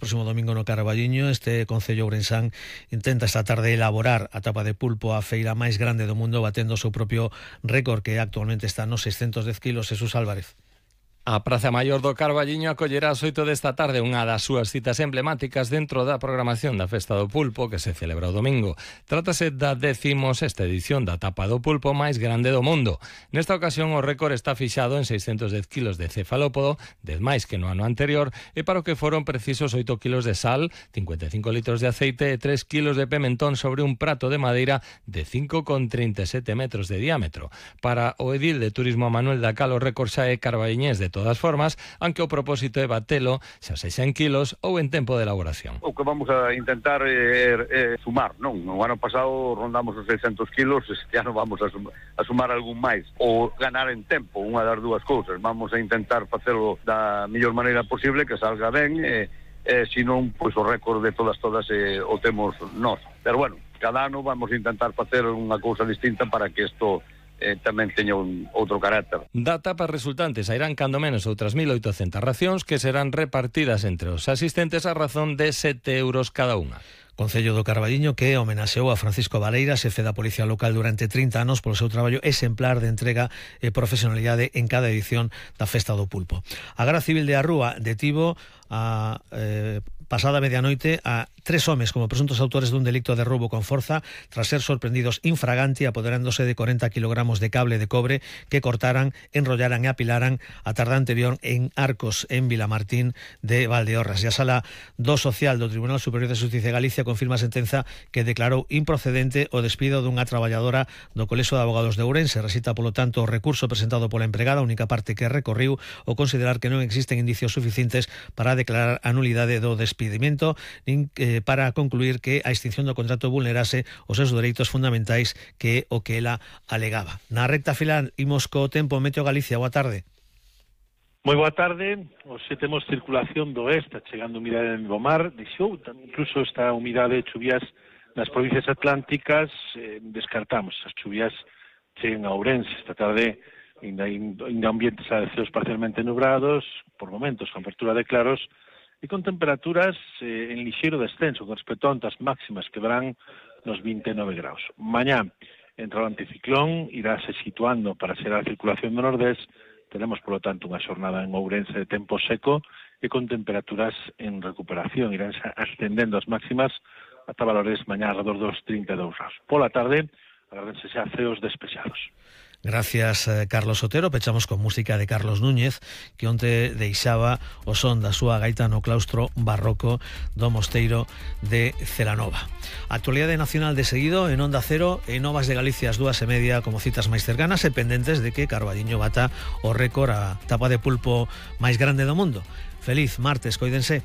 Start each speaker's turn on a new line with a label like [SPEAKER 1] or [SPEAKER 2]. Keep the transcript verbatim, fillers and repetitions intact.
[SPEAKER 1] próximo domingo no Carballiño. Este concello ourensán intenta esta tarde elaborar a tapa de pulpo a feira máis grande do mundo, batendo o seu propio récord, que actualmente está nos seiscentos dez kilos. Jesús Álvarez.
[SPEAKER 2] A Praza Maior do Carballiño acollerá ás oito desta tarde unha das súas citas emblemáticas dentro da programación da Festa do Pulpo, que se celebra o domingo. Trátase da décimos esta edición da tapa do pulpo máis grande do mundo. Nesta ocasión o récord está fixado en seiscentos dez kilos de cefalópodo, dez máis que no ano anterior, e para o que foron precisos oito kilos de sal, cincuenta e cinco litros de aceite e tres kilos de pimentón sobre un prato de madeira de cinco coma trinta e sete metros de diámetro. Para o edil de Turismo Manuel Dacal, o récord xa é carballiñés de De todas formas, aunque o propósito é batelo, xa sexa en kilos ou en tempo de elaboración.
[SPEAKER 3] O que vamos a intentar é, é sumar, non? No ano pasado rondamos os seiscentos kilos, este ano vamos a, sum, a sumar algún máis, ou ganar en tempo, unha das dúas cousas. Vamos a intentar facelo da mellor maneira posible, que salga ben, e, e se non, pois o récord de todas todas eh, o temos nós. Pero bueno, cada ano vamos a intentar facer unha cousa distinta para que isto Eh, tamén teña un outro carácter.
[SPEAKER 2] Da tapa resultante sairán cando menos outras mil oitocentas racións que serán repartidas entre os asistentes a razón de sete euros cada unha.
[SPEAKER 1] Concello do Carballiño que homenaxeou a Francisco Vareira, xefe da Policía Local durante trinta anos, polo seu traballo exemplar de entrega e profesionalidade en cada edición da Festa do Pulpo. A Garda Civil de Arrúa detivo a eh, pasada medianoite a tres homes como presuntos autores dun delicto de roubo con forza tras ser sorprendidos infraganti apoderándose de corenta kilogramos de cable de cobre que cortaran, enrollaran e apilaran a tarde anterior en Arcos, en Vilamartín de Valdeorras. E a Sala do Social do Tribunal Superior de Xusticia de Galicia confirma a sentenza que declarou improcedente o despido dunha traballadora do Colexio de Abogados de Ourense. Resita, polo tanto, o recurso presentado pola empregada, a única parte que recorriu, o considerar que non existen indicios suficientes para declarar a nulidade do despedimento, nin eh, para concluir que a extinción do contrato vulnerase os seus dereitos fundamentais, que é o que ela alegaba. Na recta final imos co tempo. Meteo Galicia, boa tarde.
[SPEAKER 4] Moi boa tarde. Hoxe temos circulación do oeste, chegando humidade en Bomar, deixou incluso esta humidade de chuvias nas provincias atlánticas. Eh, descartamos as chuvias cheguen a Ourense esta tarde. Ainda, ainda ambientes a ceos parcialmente nubrados, por momentos con apertura de claros, e con temperaturas eh, en lixeiro descenso con respecto a ondas máximas que verán nos vinte e nove graus. Mañá entra o anticiclón, iráse situando para ser a circulación do nordés. Tenemos, por lo tanto, unha xornada en Ourense de tempo seco e con temperaturas en recuperación. Irán ascendendo as máximas ata valores mañá alrededor dos trinta e dous graus. Pola tarde, agárdense xa ceos despejados.
[SPEAKER 1] Gracias, Carlos Otero. Pechamos con música de Carlos Núñez, que onte deixaba o son da súa gaita no claustro barroco do Mosteiro de Celanova. Actualidade nacional de seguido en Onda Cero e Novas de Galicia as dúas e media como citas máis cercanas e pendentes de que Carballiño bata o récord a tapa de pulpo máis grande do mundo. Feliz martes, coídense.